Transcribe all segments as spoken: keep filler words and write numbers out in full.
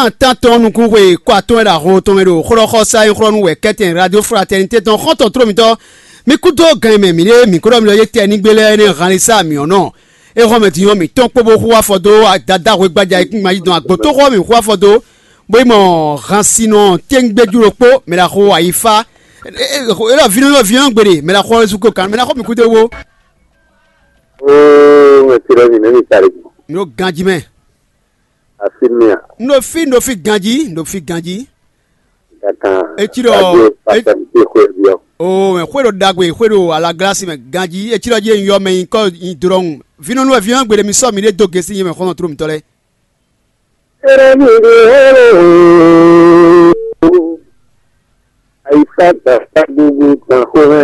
Atán tɔn nukún xwe kɔ atɔn wɛ ɖo aho tɔn mɛ ɖo xlɔ́xɔsá e xlɔ́ nú wɛ kɛ́tɛn Radio Fraternité tɔn xɔ́ntɔn tló mitɔn. Mi kúdó gan e mɛ mǐ ɖe mǐ ko ɖɔ mi ɖɔ yé tɛ nígbé lɛ́ɛ nɛ́ han lé sá mǐ ɔ́ nɔ. É hɔn mɛ din ɔ́ mǐ tɔ́n kpó bó xú afɔ dó dadá hwegbaja e kún ma yi dɔn agbotóxɔ mǐ xú afɔ dó, bó yi mɔ hansinɔ téŋgbéjú ɖokpó mɛ ɖaxó ayifá. Élɔ́ vínɔ élɔ́ vínɔ gbeɖe mɛ ɖaxó ɔ́ sú ko kan mɛ ɖaxó mǐ kúdó wó. Ó mɛ tirɛ mi nɛ mi tari. Mi ɖo ganjí mɛ. Asi mi a. Un ɖo fí un ɖo fí ganjí un ɖo fí ganjí. Gatan. Etí ɖɔ. Papa mi ti xwe bi ɔ. O mɛ xwe ɖo ɖagbe xwe ɖo alaglasi mɛ ganjí etí ɖɔ jí yɔ mɛ nyikɔ nyi drɔn. Vínɔnu wɛ vínɔnu gbeɖe mi sɔ mi ɖe dó gesi yɛ mɛ xɔnɔ tró mitɔ lɛ. Ere mi ɖe holo. Ayisa tata gbogbo tan xomɛ.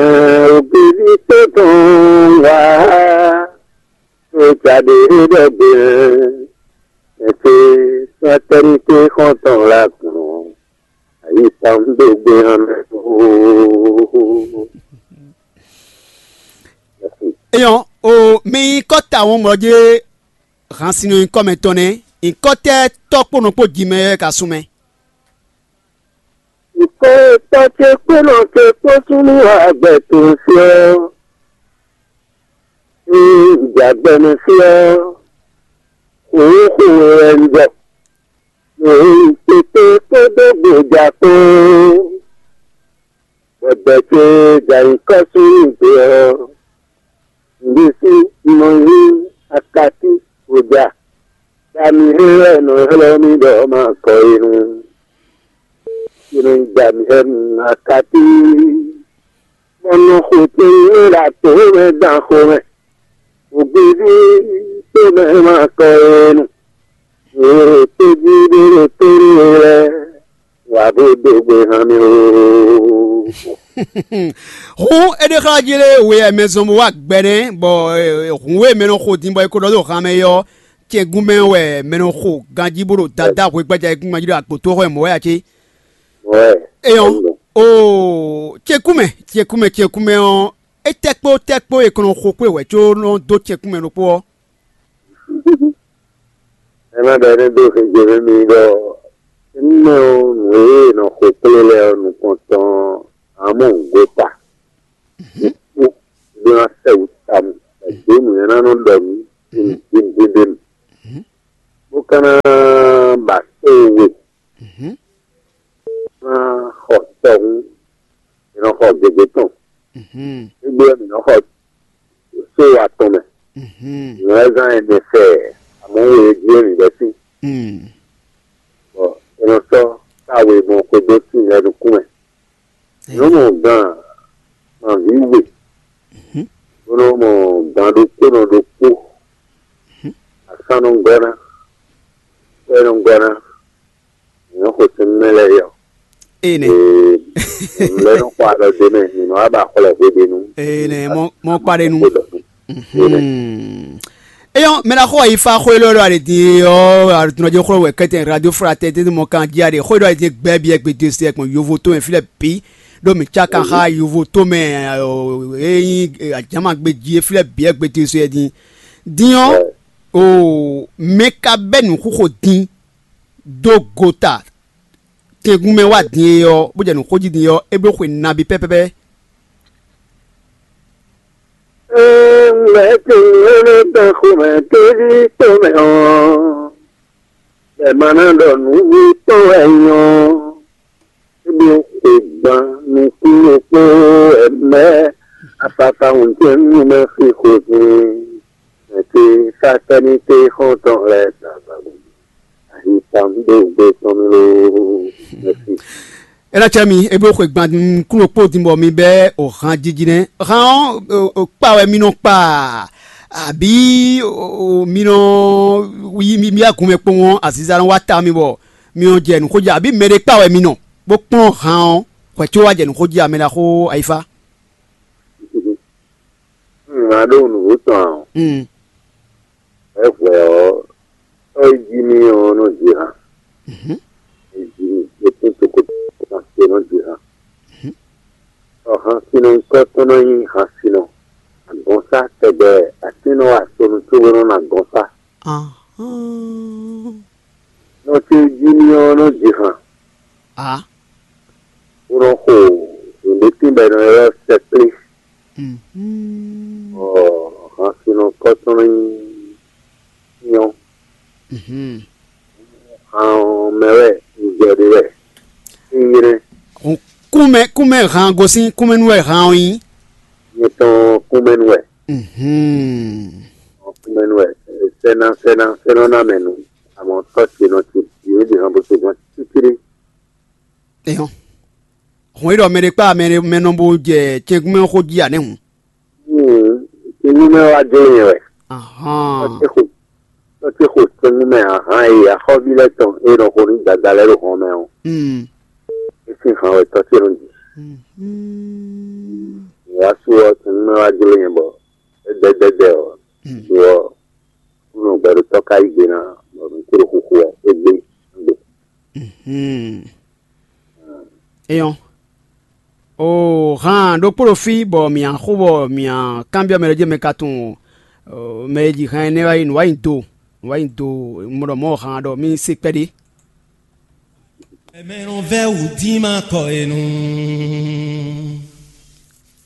Obìnrin tó tán wá. Tó jáde ɖɔgbe. Ẹsẹ̀ fraternité xɔntɔn la kùn. Ayisa ń dó gbé hàn mí. Eyɔn o mi kɔ ta wɔn mlɔ jɛ hansinɔ nyikɔ mɛ tɔn nɛ nyikɔ tɛ tɔ kpo nɔ kpo ji mɛ yɛ ka sun mɛ. Nǔkpɔ́ntɔ́ ce kpó nɔ ce kpó súnnu agbɛ̌ towe fí ɔ́, ée un jɛ agbɛmɛ fí ɔ́, xwǒxo wɛ wɛ un jɔ. Nǔ e nyí kpékpé kpódó gbějá kpó, bɔ dɛ ce jɛ nyǐkɔ súnnu dó ɔ́, un ɖésú un nɔ nyí akatí xo ja. Dami he wɛ nɔ ylɔ́ mì ɖɔ ma kɔ e nu. Inu dami he nu akatí. Bɔ nɔ xo tɛn nú ɖa tó mɛ dan xo mɛ. Ògbéví tó mɛ ma kɔ e nu. Èrò tó jí ɖé ɖo tó nú we lɛ́ɛ. Wǎ bó dó gbe hán mì oo. Hǔn é ɖe xlá jí lé we wɛ mɛ zɔn bó wá gbɛ nɛ́, bɔ hǔn e mɛ nɔ xo din bɔ é ko ɖɔ dó han mɛ é ɔ́, cɛ́gún mɛ wɛ mɛ nɔ xo ganjí bó ɖo dadá hwegbájá e kún jí ɖo agbǒtóxɔ e mɔ̌ wɛ ǎ cé? Wɛ. Éyɔ́, oo, cɛ́kúmɛ, cɛ́kúmɛ, cɛ́kúmɛ ɔ́, é tɛ́ kpó tɛ́ kpó e kɔn nɔ xo kpé wɛ có nɔ dó cɛ́kúmɛ ɖokpó ɔ́. Ena ɖɔ énɛ́ dó xeje nú mi ɖɔ énɛ́ ɔ́, nǔ e è nɔ xo kplé lɛ́ɛ ɔ́, nukɔn tɔn ǎ mɔ nǔgbó ta. Kú ɖó ná sɛ wǔ tawun, bɔ dǒ nǔ e ná nɔ ɖɔ nǔ din din din din. Bó ka ná ba só we, ná xɔ tɔhún, è nɔ xɔ gěgé tɔn. Égbé ɔ́, mǐ nɔ xɔ só atɔn mɛ. Mǐ wɛ zán ɛnɛ fɛ, amɔ̌ we jí wɛ mǐ bɛ́ sín. Bɔ è nɔ sɔ́ táwe gbɔn xwedó sín lɛ́ɛ nukún mɛ. Nǔ mɔ gan nɔví we, bó nɔ mɔ gan ɖokpónɔ ɖokpó, asán nɔ gɔ́ ná, kwɛ́ nɔ gɔ́ ná, nǔ xo sín mɛ lɛ́ɛ yɔ. Ene. Ee, nǔ lɛ́ɛ nɔ xɔ alɔ dó mɛ, mǐ nɔ wá ba xwlɛ hweɖénu. Ene, mɔ mɔ kpa ɖe nu. Xo dɔ. Mhm. Eyɔn mɛ na xɔ yi fa xɔ elɔ ɖo ali din ɔ aɖutunɔ jɛ xɔ wɛ kɛtɛ radio fura tɛ tɛ mɔ kan ji aɖe xɔ ɖo ali din gbɛ bi ɛgbɛ de se ɛkpɔn yovo to mɛ filɛ bi ɖo mi tsa kan xa yovo to mɛ eyi ajama gbe ji filɛ bi ɛgbɛ de se ɛdin din ɔ o mɛ ka bɛ nu xuxo din do gota tɛngun mɛ wá din e ɔ bó jɛ nu xóji din e ɔ é bló xwe nabi pɛpɛpɛ. Ŋlɛ́ ce nyɔ́nɔ tɔn xomɛ tóví tɔn mɛ ɔ́, bɛ ma ná ɖɔ nǔ tɔn wɛ nyɔ́. É ɖo xwe gban nukún ɖokpó ɛmɛ afafa ŋutɛ́ nú mɛ xixo din. Mɛ ce fraternité xɔ́ntɔn lɛ́ɛ zǎnzǎn. Ayi tɔn ɖo gbe tɔn mì loo. Mɛsi. Ena cɛ mi ebe xwe gban kúnɔ kpó din bɔ mi bɛ o han jiji nɛ han ɔ kpa wɛ mi nɔ kpa abi mi nɔ yi mi agun mɛ kpɔn ɔ aziza nɔ wa ta mi bɔ mi nɔ jɛ nuxo ja abi mɛ ɖe kpa wɛ mi nɔ bó kplɔn han ɔ hwɛ tso wa jɛ nuxo ja mɛ la xo ayifa. Ŋà ɖó nǔgbó tɔn ǎ. Ɛhwɛ ɔ́, tɔ́ e jí mì ɔ́ nɔ ji han. E jí mì, e tún tokoto kan ce nɔ ji han. Ɔ, hansinɔ nyikɔ tɔn nɔ nyí hansinɔ. Agɔnsá tɛgbɛ atín nɔ wa sonu cóbó nɔ nɔ agɔnsá. Nɔ ce jí mì ɔ́ nɔ ji han, a bó nɔ xo nǔɖé tín bɔ è nɔ ylɔ́ sɛkplé. Mhm. Ɔ, hansinɔ kɔ́tɔn nyí nyɔ́. Mhm. Han ɔ́ mɛ wɛ un jɛ ɖe wɛ. Nyinyrɛ́. Kúnmɛ kúnmɛ han gosín kúnmɛ nú wɛ han ɔ́ nyí. Nyɛ tɔn kúnmɛ nú wɛ. Mhm. Kúnmɛ nú wɛ. Sɛ́ná sɛ́ná sɛ́nɔ́ ná mɛ nú. Àmọ́ tɔ́ ce nɔ ce. Yě ɖe han bó se gan títírí. Eyɔn. Hɔn e ɖɔ mɛ ɖe kpá mɛ mɛ nɔ bo jɛ cɛnkúnmɛ xó jí ǎ nɛ́ hǔn. Tinú mɛ wá dó nyɛ wɛ. Ahán. Tɔ́ ce xo tinú mɛ ahán e axɔ́ví lɛ́ɛ tɔn e nɔ xo nú dada lɛ́ɛ ɖo hɔn mɛ ɔ́. Mm. É sín han wɛ tɔ́ ce nɔ ji. Mm. Ìyá sú ɔ́ tinú mɛ wá dó nyɛ bɔ é dɛdɛdɛ ɔ́. Mm. Lo ɔ́, nɔ gbɛɖotɔ́ ka yí gbe ná bɔ nǔ kúɖo xixo ɔ́ é gbé. Mhm. Eyɔn. O han ɖokpó ɖo fí bɔ mǐ xo bɔ mǐ kanbyɔ́ mɛ ɖé jɛ mɛ ka tunwun mɛ e ji han énɛ́ wá yi nǔ wá nyi do nǔ wá nyi do mɔ ɖɔ mɔ̌ han ɖɔ mì se kpɛɖé. Mɛ nɔ vɛ́ wǔ dín ma kɔ e nu.